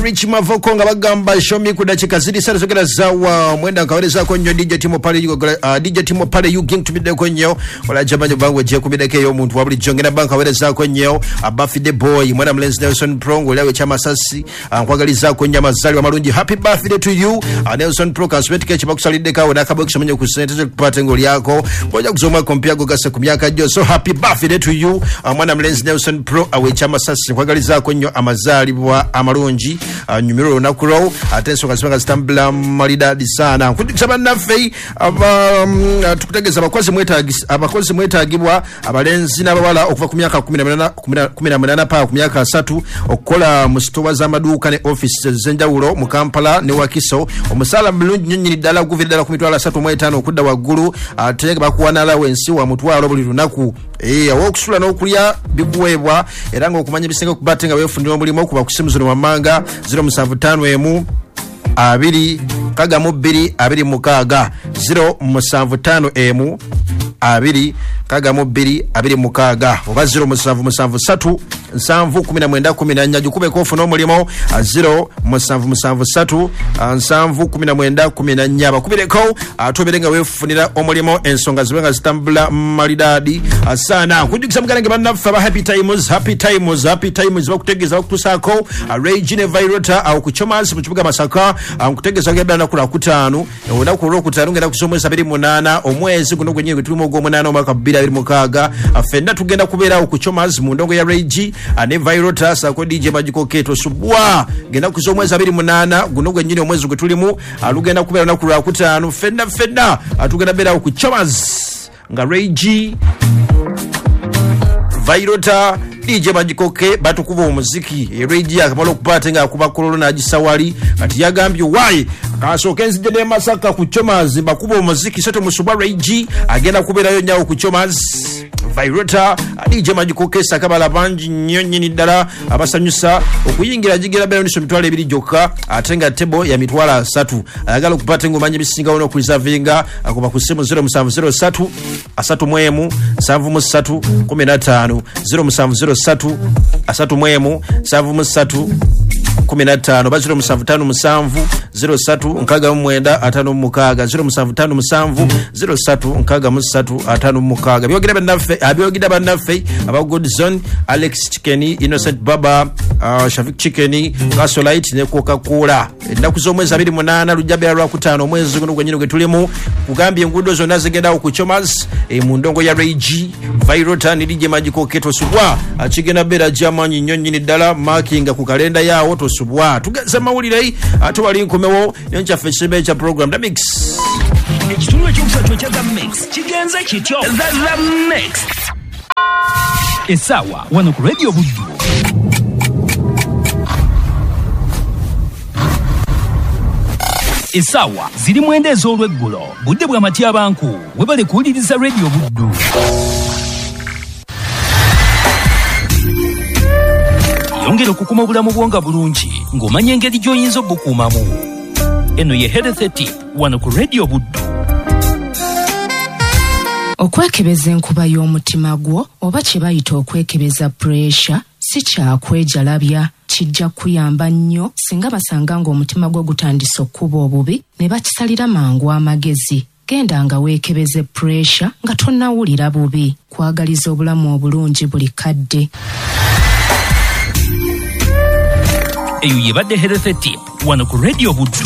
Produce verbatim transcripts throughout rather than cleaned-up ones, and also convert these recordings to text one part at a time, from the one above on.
Rich Mavoko nga bagamba show me ku dakika ziri satu zogera zawa mwenda nkawerezaako nnyo D J Timo Pale, uh, D J Timo Pale you ging tumiddeko nnyo ola jamanyo bangwe je kumideko ey'omuntu wa bulijjo ngenda banka werezaako nnyo Birthday Boy mwana mulenzi Nelson Pro ng'oli kyamasasi nkwagalizaako nnyo amazaalibwa amalungi, happy birthday to you. uh, Nelson Pro kansubetike kibakusaliddeko awo n'akabokisi omenye ku ssente z'okupata ng'olyako ng'ojja kuzoma kompya go gase ku myaka gyo, so happy birthday to you. uh, mwana mulenzi Nelson Pro awe kyamasasi nkwagalizaako nnyo amazaalibwa amalungi, uh, nyumirwa olunaku lwo ate ensonga ziba nga zitambula malidadi sana. Nkujjukiza bannaffe um, tukutegeeza abakozi mwetagis abakozi mwetagibwa abalenzi n'abawala okuva ku myaka kumi na munaana paka ku myaka asatu okukola mu sitowa z'amaduuka ne offices ez'enjawulo mu Kampala ne Wakiso. Omusaala mulungi nnyo nnyini ddala guvira ddala ku mitwalo asatu mu etaano okudda waggulu, ate bakuwa n'alawensi wa mutwalo buli lunaku. Eh, awokusula n'okulya bikuweebwa era ng'okumanya ebisinga okuba ate nga weefunira omulimu okuba ku ssimu zino wammanga zero musanvu ttaano emu abiri kaga mu bbiri abiri mukaaga zero musanvu ttaano emu abiri kaga mu bbiri abiri mukaaga oba zero musanvu musanvu ssatu nsanvu kumi na mwenda kumi na nnya. Gikubeko ofune omulimu zero musanvu musanvu ssatu nsanvu kumi na mwenda kumi na nnya. Bakubireko ate obeere nga weefunira omulimu ensonga zibe nga zitambula malidaadi sana. Nkujjukiza muganange bannaffe aba Happy Times, Happy Times, Happy Times bakutegeeza bakutuusaako Regine Virota awo ku Chomas mu kibuga Masaka. Nkutegeeza ngenda lunaku lwakutaano, olunaku olwokutaano ngenda kusoma omwezi abiri munaana omwezi guno gwennyini gwe tulimu ogw'omunaana omwaka bbiri abiri mukaaga. Ffenna tugenda kubeerawo ku Chomas mu ndongo ya Regi ane Virota sako D J Magical K tosubwa genda kuza omwezi abiri munaana guno gwennyini omwezi gwe tulimu alugenda kubeera lunaku lwakutaano. Ffenna ffenna tugenda beerawo ku Chomas nga Regi Virota D J Magical K batukuba omuziki. Regi akamala okuba ate ng'akuba kololo n'agisawali kati yagambye why kasooke nzije ne Masaka ku Chomas bakuba omuziki so temusubwa. Regi agenda kubeerayo nnyawo ku Chomas Virota D J Magical K sakabala bangi nnyo nnyini ddala abasanyusa okuyingira gigera beera niso mitwalo ebiri gyokka ate nga tebo ya mitwalo asatu. Ayagala okuba ate ng'omanya ebisingawo n'okureservinga akuba ku ssimu zero musanvu zero ssatu asatu mu emu nsanvu mu ssatu kumi na ttaano zero musanvu zero ssatu asatu mu emu nsanvu mu ssatu kumi na ttaano oba zero musanvu ttaano musanvu zero ssatu nkaaga mu mwenda ataano mu mukaaga zero musanvu ttaano musanvu zero ssatu nkaaga mu ssatu ataano mu mukaaga. Byogera bannaffe abyogera bannaffe aba Good Zone, Alex Chicken, Innocent Baba, uh, Shafik Chicken, Gasolite ne Coca-Cola. Ennaku z'omwezi abiri munaana lujja beera lwakutaano omwezi guno gwennyini gwe tulimu. Kugambye enguudo zonna zigendawo ku Chomas e, mu ndongo ya Regi Virota ne D J Magical K tosubwa kigenda beera gy'amaanyi nnyo nnyini ddala makinga ku kalenda yaawo tosubwa. Tugeze mawulire ate wali nkomewo nenkyaffe ekisembe ekya program The Mix. Ekitundu ekyokusatu ekya The Mix kigenze kityo. The, The Mix essaawa wano ku Radio Buddu. Essaawa ziri mwenda ez'olweggulo, budde bwa matyabanku. Webale kuwuliriza Radio Buddu. Yongera okukuma obulamu bwo nga bulungi ng'omanya engeri gy'oyinza obukuumamu. Eno ye Health Tip wano ku Radio Buddu. Okwekebeza enkuba y'omutima gwo oba kye bayita okwekebeza puresha si kyakwejalabya. Kijja kuyamba nnyo singa basanga ng'omutima gwo gutandise okukuba obubi ne bakisalira mangu amagezi. Genda nga weekebeze puresha nga tonnawulira bubi. Kwagaliza obulamu obulungi buli kadde. Eyo yebadde Health Tip wano ku Radio Buddu.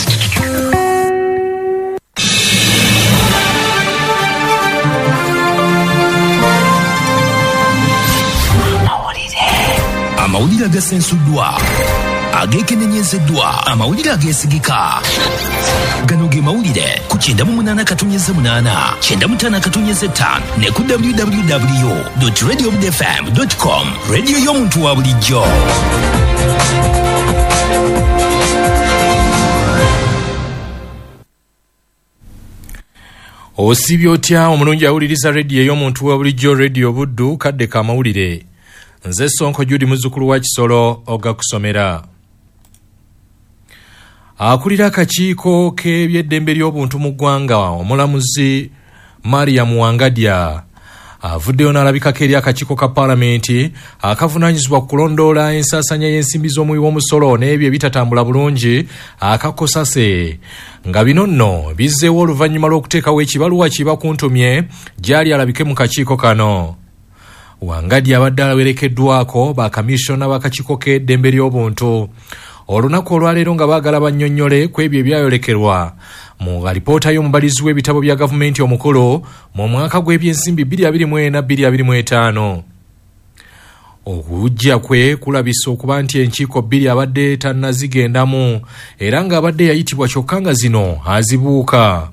Amawulire agasensuddwa, ageekenenyezeddwa, amawulire ageesigika. Gano ge mawulire ku kyenda mu munaana katonnyeze munaana, kyenda mu ttaano katonnyeze ttaano ne ku w w w dot radio buddu f m dot com. Radio y'omuntu wa bulijjo. Osibye otya omulungi awuliriza rediyo ey'omuntu wa bulijjo, Radio Buddu, kadde ka mawulire. Nze Sonko Judy muzzukulu wa Kisolo ogakusomera. Akulira akakiiko k'ebyeddembe ly'obuntu mu ggwanga omulamuzi Mariam Wangadya Avuddeyo n'alabikako eri akakiiko ka paalamenti akavunaanyizibwa ku kulondoola ensaasanya y'ensimbi z'omuwi w'omusolo n'ebyo ebitatambula bulungi akakosase, nga bino nno bizzeewo oluvannyuma lw'okuteekawo ekibaluwa kibakuntumye gy'ali alabike mu kakiiko kano. Wangadya abadde awerekeddwako bakamishona b'akakiiko k'eddembe ly'obuntu olunaku olwaleero nga baagala bannyonnyole ku ebyo ebyayolekerwa mu alipoota y'omubalizi w'ebitabo bya gavumenti omukulu mu mwaka gw'ebyensimbi bbiri abiri mu ena bbiri abiri mu etaano. Okujja kwe kulabisa okuba nti enkiiko bbiri abadde tannazigendamu era ng'abadde yayitibwa kyokka nga zino azibuuka.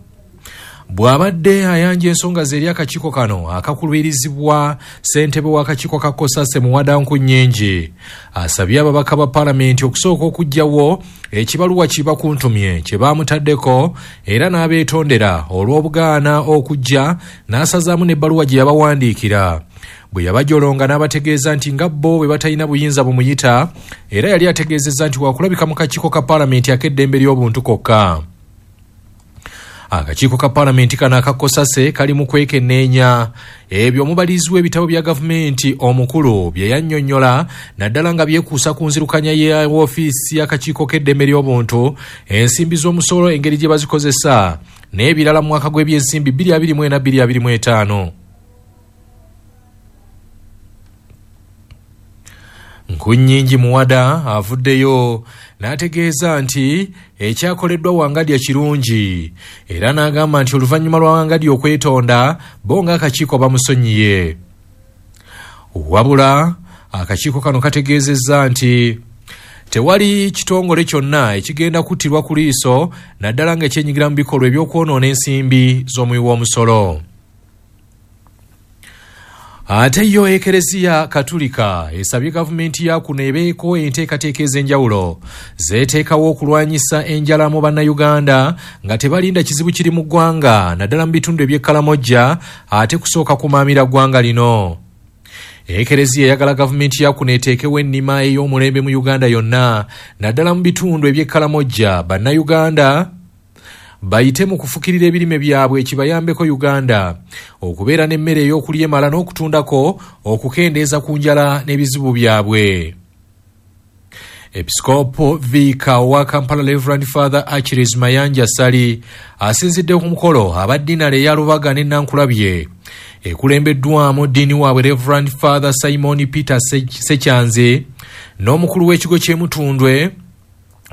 Bw'abadde ayanja ensonga ze eri akakiiko kano akakulubirizibwa ssentebe w'akakiiko ka Kosase Muwada Nkunnyingi, asabye ababaka ba paalamenti okusooka okuggyawo ekibaluwa kibakuntumye kye baamutaddeko era n'abeetondera olw'obugaana okujja n'asazaamu n'ebbaluwa gye yabawandiikira. Bwe yabajolonga n'abategeeza nti nga bo bwe batalina buyinza bumuyita, era yali ategeezezza nti wakulabika mu kakiiko ka paalamenti ak'eddembe ly'obuntu kokka. Akakiiko ka paalamenti kano akakosase kali mu kwekenneenya ebyo omubalizi w'ebitabo bya gavumenti omukulu bye yannyonnyola, naddala nga byekuusa ku nzirukanya ya woofiisi y'akakiiko k'eddembe ly'obuntu, ensimbi z'omusolo engeri gye bazikozesa n'ebirala mu mwaka gw'ebyensimbi bbiri abiri mu ena bbiri abiri mu etaano. Nkunnyingi Muwada avuddeyo n'ategeeza nti ekyakoleddwa Wangadya kirungi era n'agamba nti oluvannyuma lwa Wangadya okwetonda bo ng'akakiiko bamusonyiye. Wabula akakiiko kano kategeezezza nti tewali kitongole kyonna ekigenda kuttirwa ku liiso naddala ng'ekyenyigira mu bikolwa eby'okwonoona ensimbi z'omuwi w'omusolo. Ate yo Ekereziya Katulika esabye gavumenti ya kuno ebeeko enteekateeka ez'enjawulo zeeteekawo okulwanyisa enjala mu bannayuganda nga tebalinda kizibu kiri mu ggwanga naddala mu bitundu eby'e Kalamojja ate kusooka kumaamira ggwanga lino. Ekereziya eyagala gavumenti ya kuno eteekewo ennima ey'omulembe mu Uganda yonna naddala mu bitundu eby'e Kalamojja bannayuganda bayite mu kufukirira ebirime byabwe ekibayambeko Uganda okubeera n'emmere ey'okulya emala n'okutundako okukendeeza ku njala n'ebizibu byabwe. Episkopo Viika owa Kampala Reverend Father Achilles Mayanja Ssali asinzidde ku mukolo abaddinale eya Lubaga ne Nankulabye ekulembeddwamu ddiini waabwe Reverend Father Simon Peter Sekyanze n'omukulu w'ekigo ky'e Mutundwe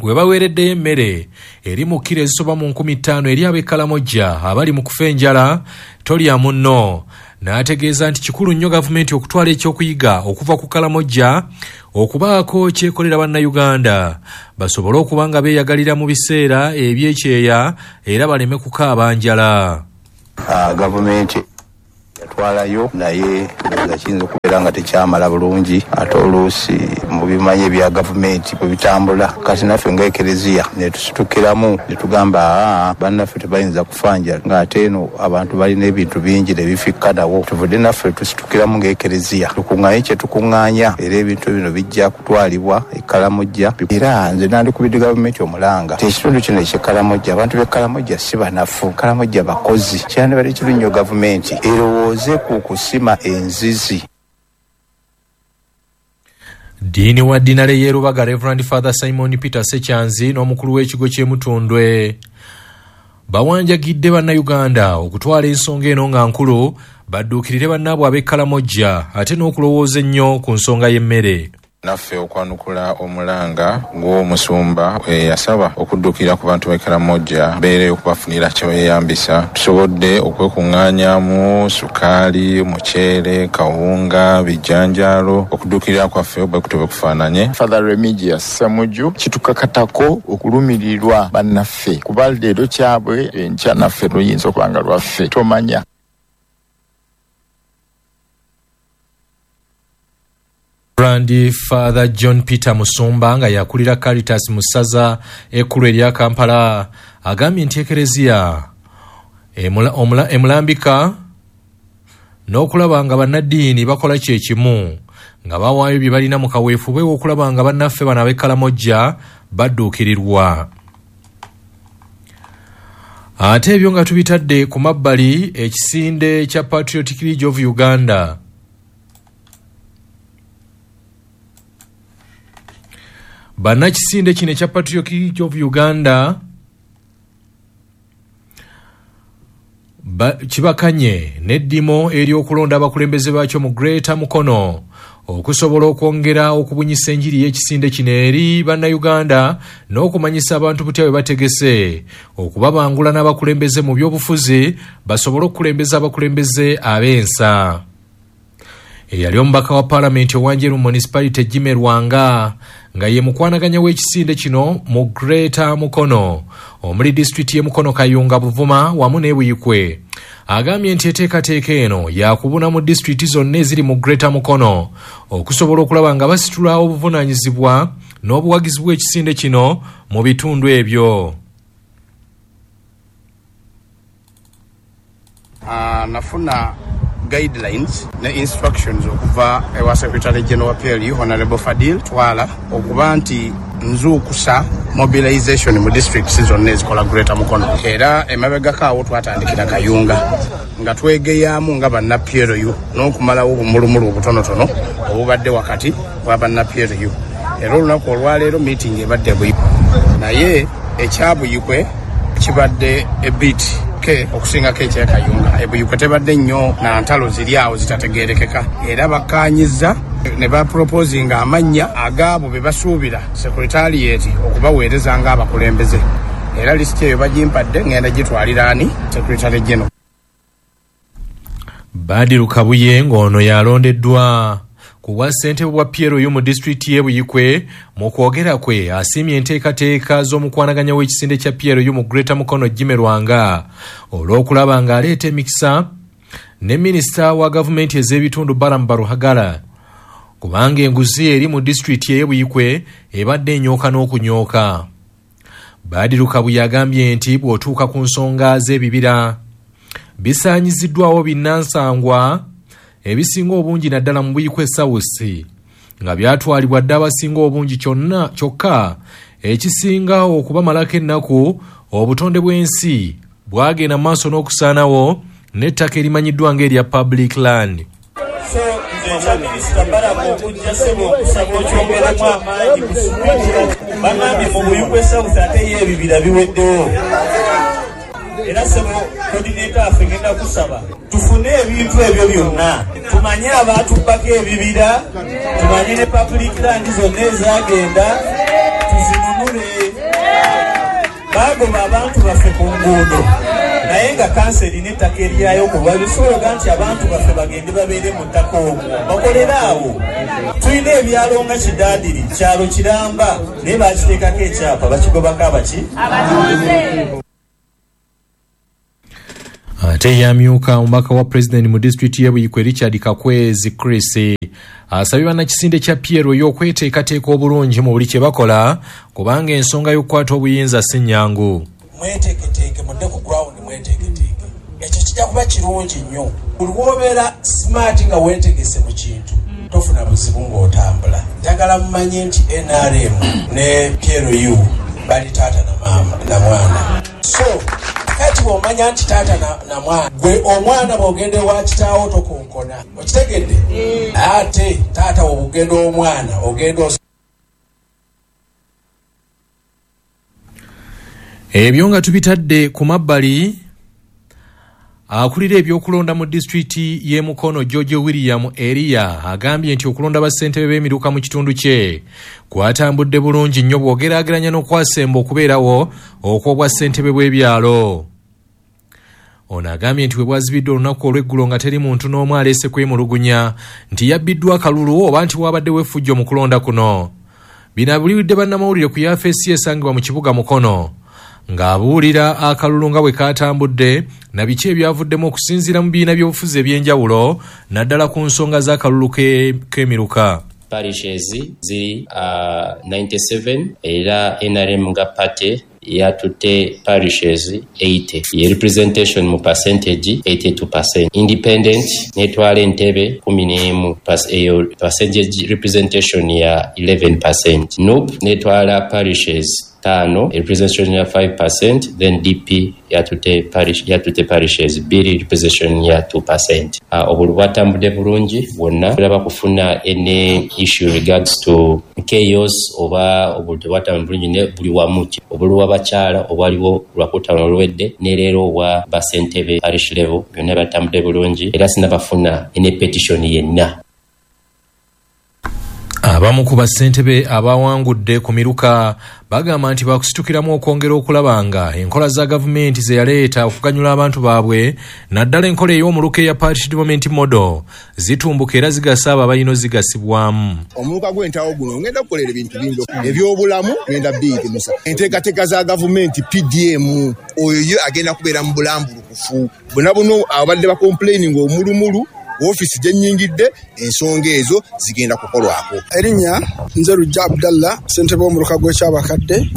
we baweereddeyo emmere eri mu kkiro ezisoba mu nkumi ttaano eri ab'e Kalamojja abali mu kufa enjala tolya munno. N'ategeeza nti kikulu nnyo gavumenti okutwala ekyokuyiga okuva ku Kalamojja okubaako kyekolera bannayuganda basobole okuba nga beeyagalira mu biseera ebyekyeya era baleme kukaaba njala. Gavumenti yatwalayo naye nga kiyinza okubeera nga tekyamala bulungi, ate oluusi mu bimanyi ebya gavumenti bwe bitambula kati naffe nga Ekereziya ne tusitukiramu ne tugamba aa bannaffe tebayinza kufa njala ng'ate eno abantu balina ebintu bingi ne bifikkanawo. Tuvudde naffe tusitukiramu nga Ekereziya tukuŋŋaanye kye tukuŋŋaanya era ebintu bino bijja kutwalibwa e Kalamojja. Era nze nandikubidde gavumenti omulanga nti ekitundu kino eky'e Kalamojja abantu b'e Kalamojja si banafu, Kalamojja bakozi. Kyandibadde kirungi nnyo gavumenti erowooze ku kusima enzizi. Ddiini wa ddinale y'e Lubaga Reverend Father Simon Peter Sekyanzi n'omukulu w'ekigo ky'e Mutundwe bawanjagidde bannayuganda okutwala ensonga eno nga nkulu badduukirire bannaabwe ab'e Kalamojja ate n'okulowooza ennyo ku nsonga y'emmere. Naffe okwanukula omulanga gw'omusumba eyasaba okuddukira ku bantu b'e Kalamojja beere okubafunira kye beeyambisa, tusobodde okwekuŋŋaanyamu sukaali, muceere, kawunga, bijanjaalo. Okuddukirira kwaffe bwe kutyo bwe kufaananye. Father Remigius Ssemuju kitukakatako okulumirirwa bannaffe kuba leero kyabwe enkya naffe luyinza okuba nga lwaffe tomanya. Reverend Father John Peter Musumba nga yakulira Caritas mu ssaza ekkulu erya Kampala agambye nti Ekereziya emulambika n'okulaba nga bannaddiini bakola kye kimu nga bawaayo bye balina mu kaweefube w'okulaba nga bannaffe bano ab'e Kalamojja badduukirirwa. Ate ebyo nga tubitadde ku mabbali, ekisinde kya Patriotic League of Uganda bannakisinde kino ekya Patriotic League of Uganda kibakanye n'eddimo ery'okulonda abakulembeze baakyo mu Greater Mukono okusobola okwongera okubunyisa enjiri y'ekisinde kino eri bannayuganda n'okumanyisa abantu butya bwe bategese okubabangula n'abakulembeze mu byobufuzi basobole okukulembeza abakulembeze ab'ensa. Eyali omubaka wa paalamenti owa Njeru Municipality Jimmy Lwanga nga ye mukwanaganya w'ekisinde kino mu Greater Mukono omuli disitulikiti y'e Mukono, Kayunga, Buvuma wamu n'e Buyikwe agambye nti enteekateeka eno yakubuna mu disitulikiti zonna eziri mu Greater Mukono okusobola okulaba nga basitula obuvunaanyizibwa n'obuwagizi bw'ekisinde kino mu bitundu ebyo. Uh, nafuna guidelines ne instructions okuva ewa Secretary General P L U Honorable Fadil Twala okuba nti nzuukusa mobilization mu districts zonna ezikola Greater Mukono. Era emabegako awo twatandikira Kayunga nga twegeyaamu nga banna P L U n'okumalawo obumulumulu obutonotono obubadde wakati bwa banna P L U. Era olunaku olwaleero meeting ebadde Buyikwe, naye ekya Buyikwe kibadde ebit ke okusingako ekya Kayunga. Ebuyikwe tebadde nnyo na ntalo ziri awo zitategeerekeka, era bakkaanyizza ne baproposinga amannya agaabo be basuubira secretariat okubaweereza ng'abakulembeze. Era lisiti eyo bagimpadde, ngenda gitwalira ani Secretary General. Badiru Kabuye ng'ono yalondeddwa ku bwa ssentebe bwa P L U mu disitulikiti y'e Buyikwe mu kwogera kwe asiimye enteekateeka z'omukwanaganya w'ekisinde kya P L U mu Greater Mukono Jimmy Lwanga olw'okulaba ng'aleeta emikisa ne minisita wa gavumenti ez'ebitundu Balaam Baruhagara kubanga enguzi eri mu disitulikiti y'e Buyikwe ebadde enyooka n'okunyooka. Badiru Kabuye agambye nti bw'otuuka ku nsonga z'ebibira bisaanyiziddwawo binnansangwa ebisinga obungi naddala mu Buyikwe South nga byatwalibwa dda abasinga obungi kyonna kyokka ekisinga okubamalako ennaku obutonde bw'ensi bwagenda mu maaso n'okusaanawo n'ettaka erimanyiddwa ng'erya public land. So nze ekya minisita Balaam okujja ssebo okusaba okyongeremu amaanyi ku sipiidi. Bagambye mu Buyikwe South ate ye ebibira biweddewo. Era ssebo coordinator affe ngenda kusaba tufune ebintu ebyo byonna, tumanye abaatubbako ebibira, tumanye ne public land zonna ezagenda tuzinunule. Bagoba abantu baffe ku nguudo naye nga kansa erina ettaka eryayo kuba bisobola nti abantu baffe bagende babeere mu ttaka omwo bakolere awo. Tulina ebyalo nga Kidaadiri, kyalo kiramba naye bakiteekako ekyapa bakigobako abaki abatuuze. Ate yamyuka omubaka wa pulezidenti mu disitulikiti y'e Buyikwe Richard Kakwezi Chris asabye bannakisinde kya P L U okweteekateeka obulungi mu buli kye bakola kubanga ensonga y'okukwata obuyinza si nnyangu. Mweteeketeeke mudde ku ground, mweteeketeeke, ekyo kijja kuba kirungi nnyo. Buli lw'obeera smart nga weetegese mu kintu tofuna buzibu ng'otambula. Njagala mumanye nti N R M ne P L U bali taata na maama na mwana. So kati bw'omanya nti taata na, na mwana, gwe omwana bw'ogenda ewa kitaawo tokonkona, okitegedde? Ate taata bw'ogenda omwana ogenda. Ebyo nga tubitadde ku mabbali, akulira ebyokulonda mu disitulikiti y'e Mukono George William Eria agambye nti okulonda bassentebe b'emiruka mu kitundu kye kwatambudde bulungi nnyo bw'ogeraageranya n'okwasemba okubeerawo okw'obwa ssentebe bw'ebyalo. Ono agambye nti bwe bwazibiddwa olunaku olw'eggulo nga teri muntu n'omu aleese kwemulugunya nti yabbiddwa akalulu oba nti waabaddewo effujjo mu kulonda kuno. Bino abuliridde bannamawulire ku yafeesi esangibwa mu kibuga Mukono ng'abuulira akalulu nga bwe katambudde na biki ebyavuddemu okusinziira mu bibiina by'obufuzi eby'enjawulo naddala ku nsonga z'akalulu k'emiruka. Parishes ziri uh, ninety-seven era N R M nga party yatutte parishes eighty. Ye representation mu percentage eighty-two percent. Independent netwala entebe kumi n'emu, eyo percentage representation ya eleven percent. N U P netwala parishes ttaano, representation ya five percent, then D P yatute parish yatute parishes bbiri, representation ya two percent. Uh, obululu bwatambudde bulungi bwonna, tulaba kufuna any issue regards to chaos oba obululu tebwatambudde bulungi ne buli wamu. Obululu bw'abakyala obwaliwo lwakutaano oluwedde ne leero obwa basentebe parish level byonna byatambudde bulungi, era sinabafuna any petition yenna. Abamu ku bassentebe abawangudde ku miruka bagamba nti bakusitukiramu okwongera okulaba nga enkola za gavumenti ze yaleeta okuganyula abantu baabwe, naddala enkola ey'omuluka eya Parish Development Model, zitumbuka era zigasa abo abalina ozigasibwamu. Omuluka gw'entawo guno ngenda kukolera ebintu bingi ebyobulamu, ngenda biyitimusa enteekateeka za gavumenti P D M, oyo ye agenda kubeera mu bulambulukufu. Bonna buno abadde bakomplaining omulumulu ofiisi gye nnyingidde, ensonga ezo zigenda kukolwako. Erinnya nze Lujja Abdallah, ssentebe w'omuluka gw'ekyabakadde.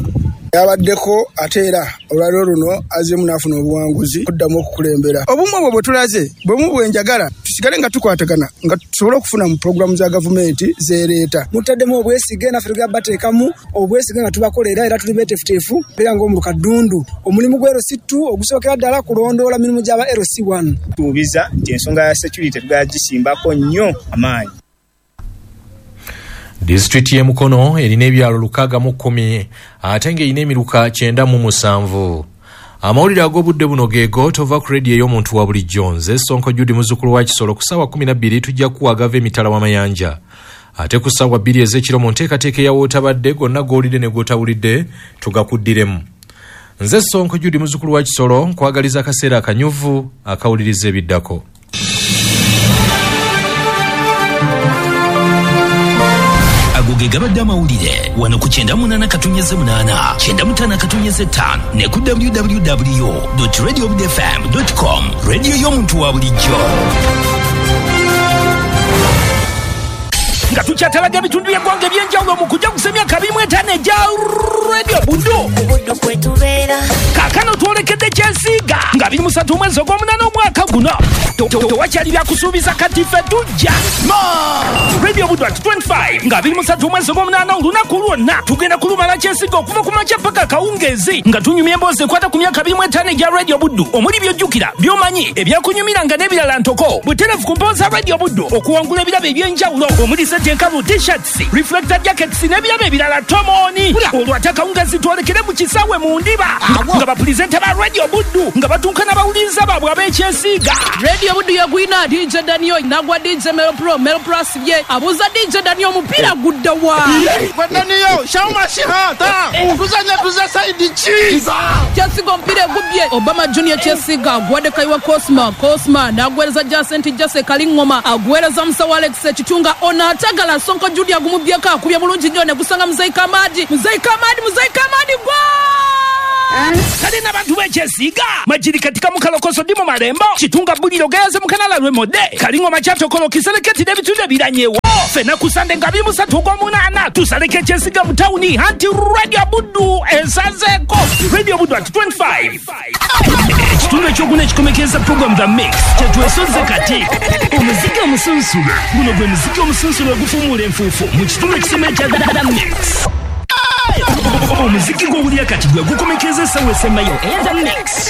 Yabaddeko ate era olwaleero luno azzeemu n'afuna obuwanguzi okuddamu okukulembera. Obumu obwo bwe tulaze bwemu bwe njagala tusigale nga tukwatagana nga tusobole okufuna mu pulogulaamu za gavumenti zeereeta. Mutaddemu obwesige naffe tugenda bateekamu obwesige nga tubakolera era tuli beeteefuteefu era ng'omuluka Ddundu. Omulimu gwa L C two ogusookera ddala kulondoola mirimu gy'aba L C one. Tuubiza nti ensonga ya security tugenda gisimbako nnyo amaanyi. Disitulikiti y'e Mukono erina ebyalo lukaaga mu kkumi ate ng'erina emiruka kyenda mu musanvu. Amawulire ag'obudde buno geego tova ku rediyo ey'omuntu wa bulijjo. Nze Sonko Judy muzzukulu wa Kisolo. Ku ssaawa kkumi na bbiri tujja kuwa agava emitala w'amayanja, ate ku ssaawa bbiri ez'ekiro mu nteekateeka eya wootabadde gonna g'owulidde ne g'otawulidde tugakuddiremu. Nze Sonko Judy muzzukulu wa Kisolo, nkwagaliza akaseera akanyuvu akawuliriza ebiddako. Ago ge gabadde amawulire wano ku kyenda munaana katunyeze munaana, kyenda mutaano katunyeze ttaano ne ku w w w dot radio b f m dot com. Radio y'omuntu wa bulijjo. Nga tukyatalaga ebitundu by'eggwanga eby'enjawulo mu kujaguza emyaka abiri mu etaano egya Radio Buddu. Obuddu kwe tubeera. Kaakano twolekedde Kyesiiga nga abiri mu ssatu omwezi ogw'omunaana omwaka guno. Tewakyali byakusuubiza kati ffe tujja. Radio Buddu at twenty-five nga abiri mu ssatu omwezi ogw'omunaana olunaku lwonna tugenda kulumala Kyesiiga okuva ku makya paka akawungeezi nga tunyumya emboozi ekwata ku myaka abiri mu etaano egya Radio Buddu omuli by'ojjukira, by'omanyi, ebyakunyumiranga n'ebirala ntoko. Butereevu ku mpooza Radio Buddu okuwangula ebirabo eby'enjawulo omuli enkalu, t-shirts, reflector jackets n'ebirabo ebirala tomoni. Olwo ate akawungeezi twolekere mu kisaawe mu ndiba nga bapulizenta ba Radio Buddu nga batuuka n'abawuliriza baabwe ab'Ekyesiiga. Radio Buddu yagwina D J Daniel nagwa D J Melo Pro, Melo Pro asibye abuuza D J Daniel omupiira gudda wa? Gwe Daniel, shauma shihata tuzanya tuza saidi ki? Kyesiiga omupiira egubbye Obama Junior Kyesiiga agwadde Kaiwa Cosma, Cosma n'agwereza Jacent Jase Kalingoma, agwereza Musawo Alex Ekitunga ono atagala Sonko Judy agumubyeko akubye bulungi nnyo ne gusanga Muzeyi Kamadi, Muzeyi Kamadi, Muzeyi Kamadi gwa! Kale n'abantu b'Ekyesiiga Majiri katika mukalokoso ndi mu malembo Kitunga buliro gayaze mukanala lwemodde Kalingoma kyatokolo kiseleketi n'ebitundu ebiranyewo. Ffenna ku Sande nga abiri mu ssatu ogw'omunaana tusaleko Ekyesiiga mu tawuni anti Radio Buddu esazeeko. Radio Buddu at twenty-five. Ekitundu ekyokuna ekikomekeza program The Mix kyetwesoze kati. Omuziki omusunsulo guno gwe muziki omusunsulo ogufuumuula enfuufu mu kitundu ekisoma ekya The Mix. Omuziki gw'owulira kati gwe gukomekeza essaawa esembayo eya The Mix.